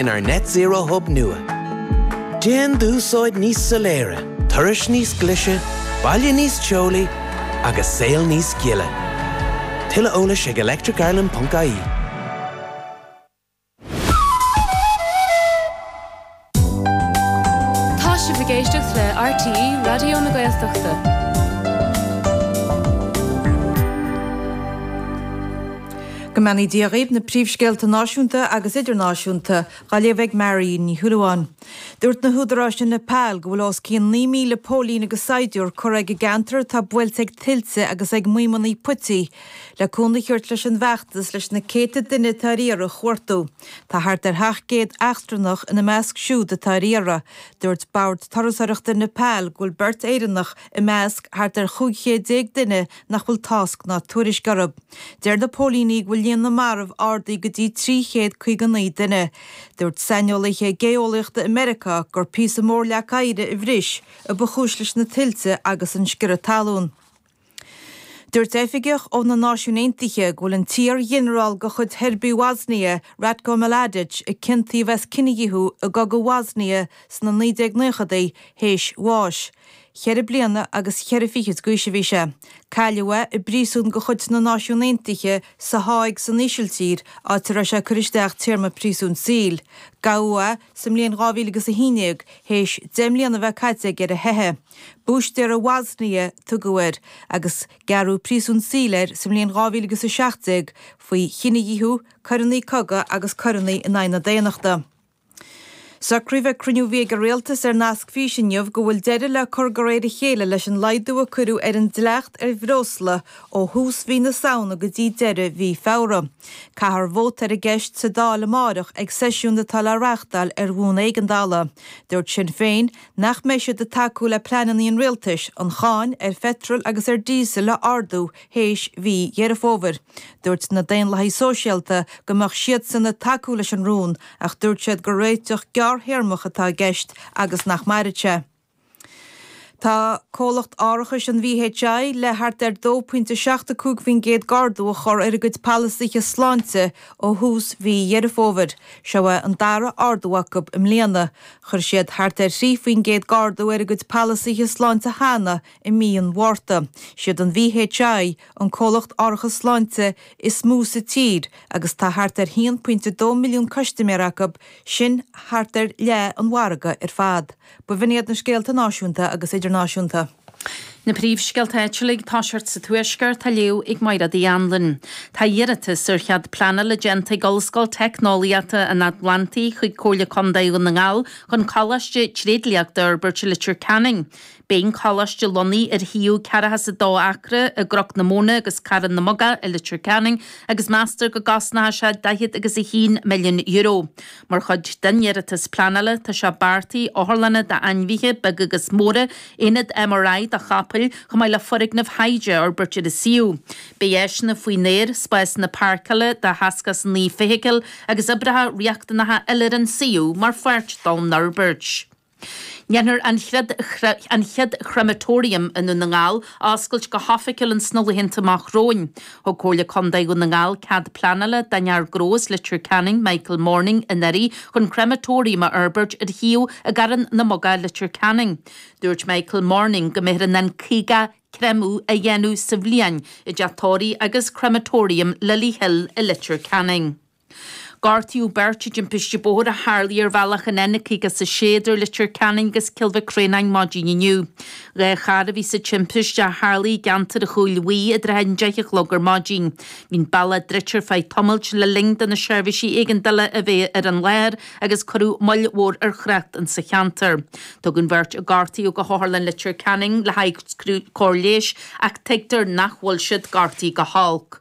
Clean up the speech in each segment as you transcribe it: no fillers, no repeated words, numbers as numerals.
Inár Net Zero Hub nua. Déan d'úsáid níos soiléire, turais níos glaise, baile níos teolaí agus saol níos gile. Tuilleadh eolais ag electricireland.ie. Tá sibh ag éisteacht le RTÉ Raidió na Gaeltachta. Go mbeannaí Dia dhaoibh, na príomhscéalta náisiúnta agus idirnáisiúnta dhá léamh ag Mary Ní Shúilleabháin. Dúirt na húdaráis i Nepal go bhfuil os cionn 9,000 póilín agus saighdiúir curtha ag an gceantar atá buailte ag tuilte agus ag maidhmeanna puití le cúnamh a thabhairt leis an bhfeachtas leis na céadta duine atá ar iarraidh a chuartú. Tá thart ar 700 eachtrannach ina measc siúd atá ar iarraidh. Dúirt Bord Turasóireachta Nepal go bhfuil beirt Éireannach i measc thart ar 15 chéad duine nach bhfuil tásc ná tuairisc orthu. Deir na póilíní go bhfuil líon na marbh ardaithe go dtí 359 duine. Dúirt saineolaithe géeolaíochta i Meiriceá gur píosa mór leac oighir a bhris a ba chúis leis na tuilte agus an sciorradh talún. Dúirt oifigeach ó na Náisiúin Aontaithe go bhfuil an t-iar-ghinearál de chuid Sheirbigh Bhosnia, Ratko Mladic, a ciontaíodh as cinedhíothú i gcogadh Bhosnia sna 1990idí, théis bháis. Cheithre bliana agus cheithre fichid d'aois a bhí sé. Cailleadh é i bpríosún de chuid na Náisiún Aontaithe sa Háig san Ísiltír, áit a raibh sé ag cur isteach téarma príosúin saoil. Gabhadh é sa mbliain 2011 théis 10 mbliana a bheith caite aige ar a theitheadh. Búistéara Bhosnia a tugadh air agus gearradh príosún saoil air sa mbliain 2017 faoi chinedhíothú, coireanna cogaidh agus coireanna in aghaidh na daonnachta. Socraíodh ag cruinniú a bhí ag an Rialtas ar nasc físe inniu go bhfuil deireadh le cur de réir a chéile leis an laghdú a cuireadh ar an dleacht ar bhreosla ó thús mhí na Samhna go dtí deireadh mhí Feabhra. Caithfear vóta ar an gceist sa Dáil amáireach ag seisiún atá le reáchtáil ar bhonn éigeandála. Dúirt Sinn Féin nach mbeidh siad ag tacú le pleananna an Rialtais an cháin ar pheitreal agus ar díosal a ardú théis mhí Dheireadh Fómhair. Dúirt na Daonlathaigh Sóisialta go mbeadh siadsan ag tacú leis an rún ach dúirt siad gur réiteach gearrthéarmach atá i gceist agus nach mairfidh sé. Tá comhlacht árachais an VHI le thart ar 2.75% d'ardú a chur ar a gcuid polasaithe sláinte ó thús mhí Dheireadh Fómhair. Seo é an dara ardú acu i mbliana. Chuir siad thart ar 3% d'ardú ar a gcuid polasaithe sláinte cheana i mí an Mhárta. Siad an VHI an comhlacht árachas sláinte is mó sa tír agus tá thart ar 1.2 milliún custaiméir acu, sin thart ar leath an mhargaidh ar fad. B'in iad na scéalta náisiúnta agus idirnáisiúnta. Na príomhscéalta áitiúla ag toiseacht sa Tuaisceart á léamh ag Mairéad Uí Anluain. Tá iarratas ar chead pleanála déanta ag Ollscoil Teicneolaíochta an Atlantaigh chuig Comhairle Contae Dhún na nGall chun coláiste tréidliachta a fhorbairt i Leitir Ceanainn. Beidh an coláiste lonnaithe ar shuíomh ceathracha is a dó acra i gCnoc na Móna agus Carn na mBogach i Leitir Ceanainn agus meastar go gcosnóidh sé daichead agus a haon milliún euro. Mar chuid den iarratas pleanála tá sé beartaithe otharlanna d'ainmhithe beaga agus móra, aonad MRI do chapaill, chomh maith le foirgnimh thaighde a fhorbairt ar an suíomh. Beidh áiseanna faoin aer, spásanna páirceála do sheasca is a naoi feithicil agus oibreacha riachtanacha eile ar an suíomh mar pháirt don fhorbairt. Déanfar an an chéad chrematorium i nDún na nGall a oscailt go hoifigiúil ins na laethanta amach romhainn. Thug Comhairle Contae Dhún na nGall cead pleanála don fhear gnó as Leitir Ceanainn, Michael Morning, anuraidh chun crematorium a fhorbairt ar shuíomh i gCarn na mBogach, Leitir Ceanainn. Dúirt Michael Morning go mbeifear in ann 50 creimeadh a dhéanamh sa bhliain i dteach tórraimh agus crematorium Lily Hill i Leitir Ceanainn. Gortaíodh beirt i dtimpiste bóthair a tharlaigh ar bhealach an N56 idir Leitir Ceanainn agus Cill Mhic Réanáin maidin inniu. 2 charr a bhí sa timpiste a tharlaigh i gceantar an Chúil Bhuí i dtrátha an 10 a chlog ar maidin. Bhí an bealach druidte ar feadh tamaill le linn do na seirbhísí éigeandála a bheith ar an láthair agus cuireadh moill mhór ar thrácht insa cheantar. Tugadh an bheirt a gortaíodh go hOtharlann Leitir Ceanainn le haghaidh cóir leighis ach tuigtear nach bhfuil siad gortaithe go holc.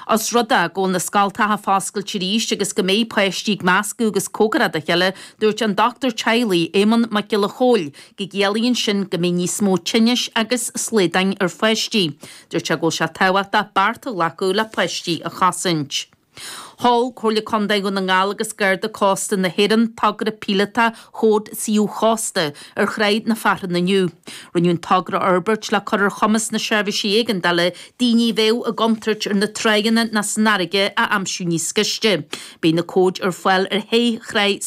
Os rud é go bhfuil na scoltacha foscailte arís agus go mbeidh páistí ag meascadh agus cóngarach dá chéile, dúirt an dochtúir teaghlaigh, Éamonn Mac Giolla Chóill, go gciallaíonn sin go mbeidh níos mó tinnis agus slaodáin ar pháistí. Dúirt sé go bhfuil sé tábhachtach bearta a ghlacadh le páistí a chosaint. Sheol Comhairle Contae Dhún na nGall agus Garda Cósta na hÉireann togra píolótach Chód Suíomh Chósta ar Thráigh na Fearthann inniu. Rinneadh an togra a fhorbairt le cur ar chumas na seirbhísí éigeandála daoine a bheadh i gcontúirt ar na tráigheanna ná san fharraige a aimsiú níos gaiste. Beidh na cóid ar fáil ar shé thráigh sa.